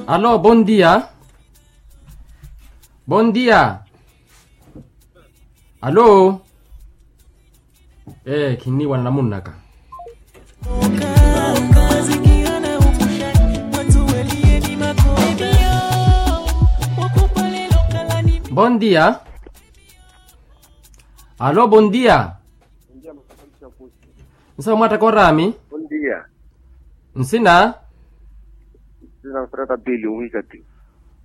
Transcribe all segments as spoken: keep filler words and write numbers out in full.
Alo, bondia. Bondia. Alo. Ee khinniiwana namunnaka. Bondia. Alo, bondia. Nsawe mwattaka oraami. Nsina? Nsina mfreta pili omuhikati.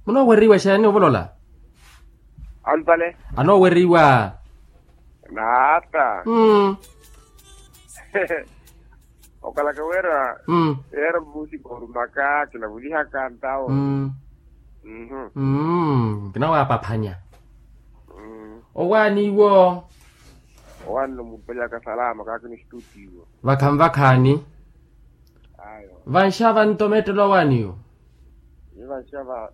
Munooweriwa exeeni ovolola? Alupale. Anooweriwa. Naata. Okalaka wira. Yeera musipa orumaka kinavulihaka ntawo. Kinawaapaphanya. Owaaniwo. Owaani nomuupalyaka salama kaakini stutiwo. Vakhanvakhaani. Vanxava nto mettelo awaaniwo. Ni vanxava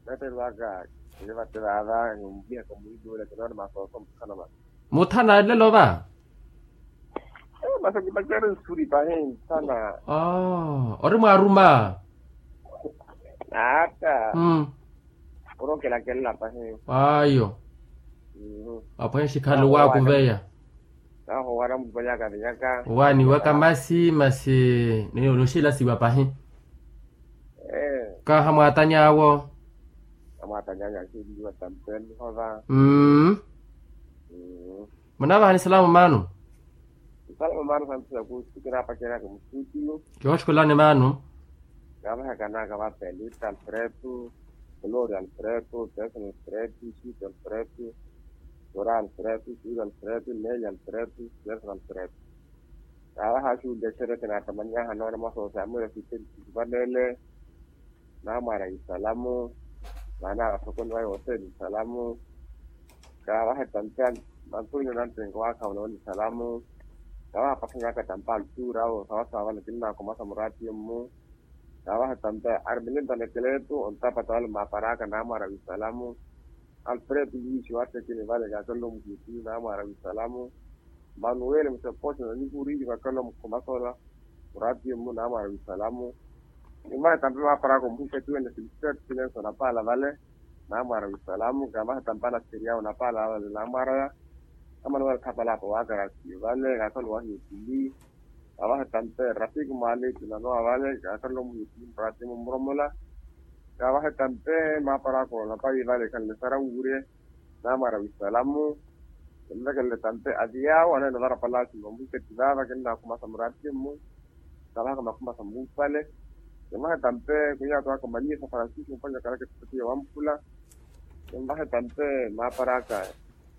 mettelo aka. Ni vate vava ni omuvihaka muhiduula kinoona masooso muthana masi. Muthana nlelo va. Masi kipacerya nsuri pahi nthana. Ori mwaaruma. Naata. Orookelakelela pahi. Ayo. Apwehe xikhale owaakuveya. Naho owaana mulipalyaka vinyaka. Owaaniwaka masi masi. Noxilasiwa pahi. Kaha mwaatany'awo. Amwaatany'anyu axiliwa tampeni hova. Munavahani salamu maanu. Salamu maanu santu sakusi kinapaceraka musutiyo. Kihoxukulani maanu. Kavahekanaka vapelita alfredo, gloria alfredo, jason alfredo, sito alfredo, sora alfredo, siro alfredo, neli alfredo, jason alfredo. Kaavaha axuulya exereke naattamanyahana oona masoosa ya mwira siteli sivanele. Naamwaara wisalamu. Maana athokoni vaye oseeni wisalamu. Kaavaha etampe antonio nantenko waakha onooni wisalamu. Kaavaha pathanyaka tampa altura awo sawasawa vale kinnakhomasa muraatiyo-mmu. Kaavaha etampe armilinto anekeletu ontapata vale mmaapar'aka naamwaara wisalamu. Alfredo luisi waattekeni vale kaakhalelo muhipi naamwaara wisalamu. Manuwele musepoxo na nikuriili kaakhalelo mukhomasola. Muraatiyo-mmu naamwaara wisalamu. Nimvahe tampe maapar'aka omuhikatiwene silfredo silenso napaala vale. Naamwaara wisalamu kaavahe tampe anaseriyawo napaala vale naamwaaraya. Amanuwele khapalapa waakarasiyo vale kaakhalelo wahiyo pili. Kaavahe tampe rafiki mwaalipi nanowa vale kaakhalelo muhipi muraatiyo-mmu muromola. Kaavahe tampe maapar'aka onapayi vale ekhanle sara wuurye. Naamwaara wisalamu. Kinvekelele tampe aviyawo aneene ovara palacio nomuhikati vaava kinnakhumasa muraatiyo-mmu. Kavahaka makhumasa muupale. Kimvahe tampe kunyaato aka manyisa francisco mpanya kalaka etipatiya wamphula. Kimvahe tampe maapar'aka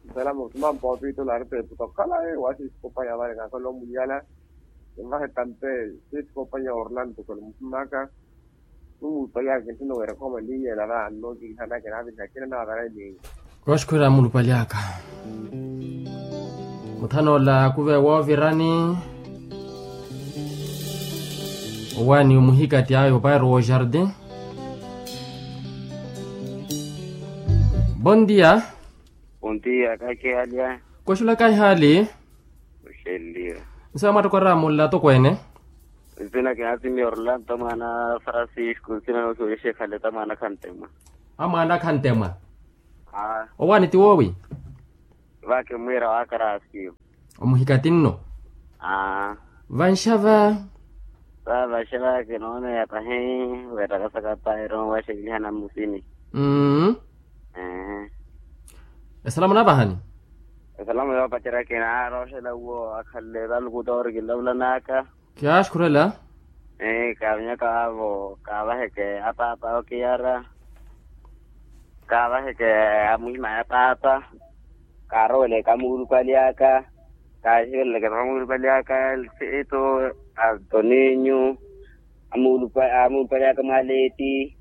wisalamu simampa opitula arete eputa okhala waasi esikopanya vale kaakhalelo omuliyala. Kimvahe tampe sisikopanya orlando kolomuhimaka. Numuupalyaka kinttino wira khoma niinyela va nnookilihanaka naaviriha akina naavara eniinya. Kooxukhwira mulupalyaka. Muthanoola kuve woovirani. Owaani omuhikati ayo pairo wojardin. Bondia. Ontiya kahihalya. Koxula kahihaali. Oxeliwa. Nsawe mwattokora mulla atokweene. Nsina kinasimia orlando mwaana francisco nsina noosiwelixa ekhale ta mwaana khantemwa. A mwaana khantemwa. Owaani ti woowi? Vaakimwiira waakarasiwa. Omuhikati nno. Vanxava. Vaavaxe vaakinoona ya pahi. Weettakasaka pairo waxekelihana mmusini. Mmm. Esalamu naavahani. Esalamu yoopacerya kinaarooxela uwo akhanle valuku toori kinlavulanaka. Kiyaaxukhurela. Kaavinyaka vaavo kaavaheke apaapa okiyara. Kaavaheke amuhima ya paapa. Kaaroweleke amuulupali aka. Kaaxiveleleke vamuulupali aka. Sito antoninyu amuulupali aka mwaaleti.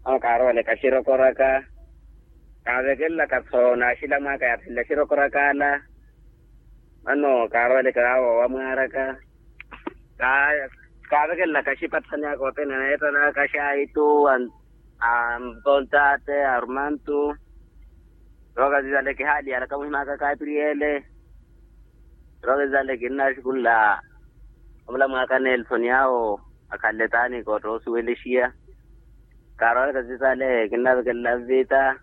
Mano kaaroweleke axirokoraka. Kaavekelelaka-tho n'axilamu aka yaathanle axirokoraka ala. Mano kaaroweleke vaavo wamwaaraka. Kaavekelelaka axipathani aka othene aneettanaka xaitu. Antontate arumantu. Roka zizale kihaaliyalaka muhimaka kapriyele. Roka zizale kinnaxukulla. Omulamu aka nelson yaawo akhanle taani kootta osuwelexiya. Kaarowalaka zitale kinnavekelela vita.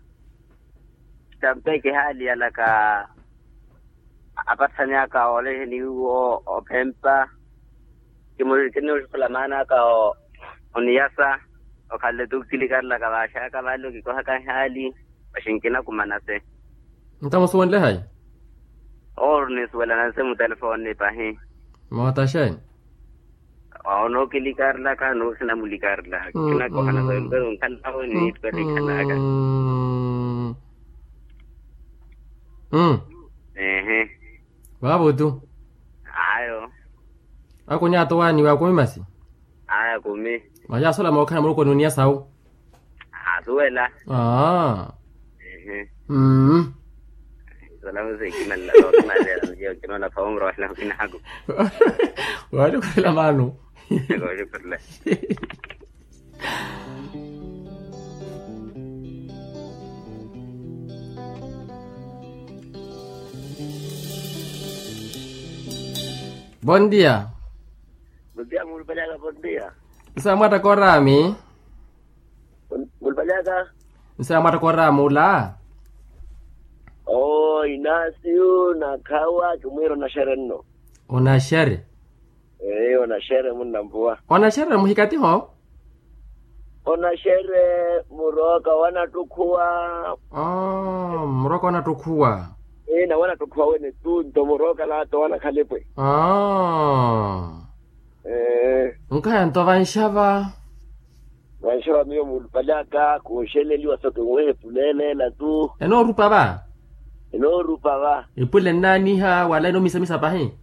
Tampe kihaaliyalaka apatthanyaka oleheni iwo ophempa. Kimuxukhula maana aka oniyasa. Okhanle tu kilikarelaka vaaxaka vale okikohaka ehaali. Vaxinkina kumanase. Ntamusuwenle hayi? Owo nisuwela nanse mutelefoni pahi. Mootaxeni? Onookilikarilaka nooxina mulikarila. Kinakohana sayo mpero nkhalavo niitwela ikhanaka. Ehe. Vaavo tu. Ayo. Ako ni atowani wa kumi masi? Aya kumi. Maya asola mookhana muloko nuniya sawu. Asuwela. Aa. Ehe. Salamu sekimanla nookimanlera niyo kinoona pha umuro wala okinaku. Wali khurela maano. Kooxukhurela. Bon dia. Bon dia muulupalyaaka bon dia. Nsa mwatta koorami. Muulupalyaaka. Nsa mwatta koorami ula. Oo inasiyu nakhawa kimwiira onaxere nno. Onaxere. Ee onaxere munnampuwa. Onaxere muhikatiho. Onaxere murooka wanattukhuwa. Murooka wanattukhuwa. Ee nawanattukhuwa wene tu nto murooka laato wanakhalipe. Nkaya nto vanxava. Vanxava miyo muulupalyaaka kooxeleliwa so kinwehe puleeleela tu. Enoorupa va. Enoorupa va. Epule nnaaniha wala enoomisamisa pahi.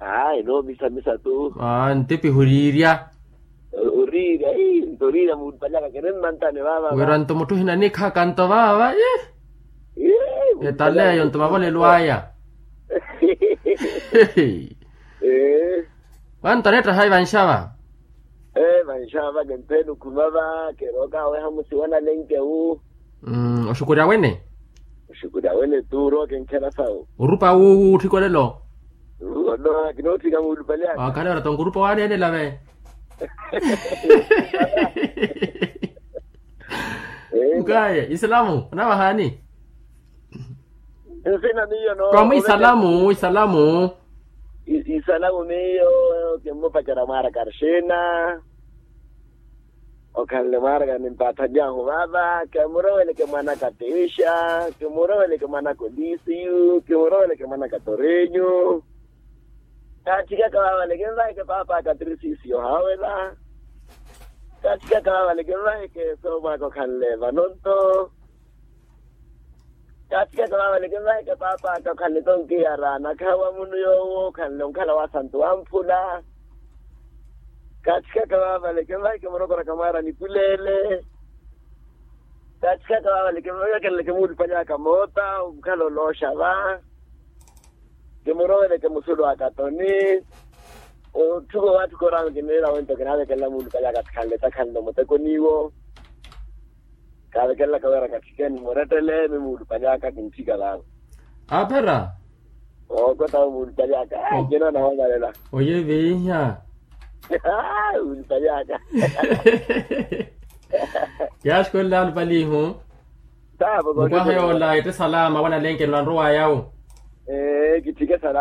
Aa enoomisamisa tu. Ntipihi oriirya. Oriirya ii nto oriirya muulupalyaaka kinimmantani vaava. Wira nto mutthu ohina nikhaka nto vaava. Etaleyo nto mavolelo aya. Vanto aneetta hayi vanxava. Vanxava kempeeni okhuma va kerooka aweha musiwana lenkewu. Oxukurya wene. Oxukurya wene tu orooka enkhela sawu. Orupa wu utthika olelo. Ono kinootthika muulupalyaaka. Wakhala ora tonkurupa waneenela ve. Nkaye isalamu onavahaani. Nsina miyo no. Komu isalamu isalamu. Isalamu miyo kimmupacerya mwaaraka arxina. Okhanle mwaaraka nimpaathanyahu vaava kimuroweleke mwanaka tixa. Kimuroweleke mwanaka olisiyu kimuroweleke mwanaka torenyu. Kaatthikaka vaavale kinvaheke paapaka tirisisiyo haawela. Kaatthikaka vaavale kinvaheke soomwaaka okhanle vanonto. Kaatthikaka vaavale kinvaheke paapaka okhanle tonkiyara nakhawa munu yoowo okhanle onkhala wasantu wamphula. Kaatthikaka vaavale kinvaheke murokoraka mwaara nipuleele. Kaatthikaka vaavale kinvakeleleke muulupalyaaka moota onkhala olooxa va. Kimuroveleke musulu a katoni. Otthuko watthuko oramu kiniira wento kinaavekelela muulupalyaaka tikhanle takhanle omutekoniwo. Kaavekelelaka wira katthikeni murettele mi muulupalyaaka kintthika vaavo. Aaphera. Ookota muulupalyaaka. Kinoona woovalela. Oyeviiha. Muulupalyaaka. Kiyaaxikolela alupalihu. Mukwaha yoola ette salama wanalenke nwanrowaya awo. Ee kitthike salama.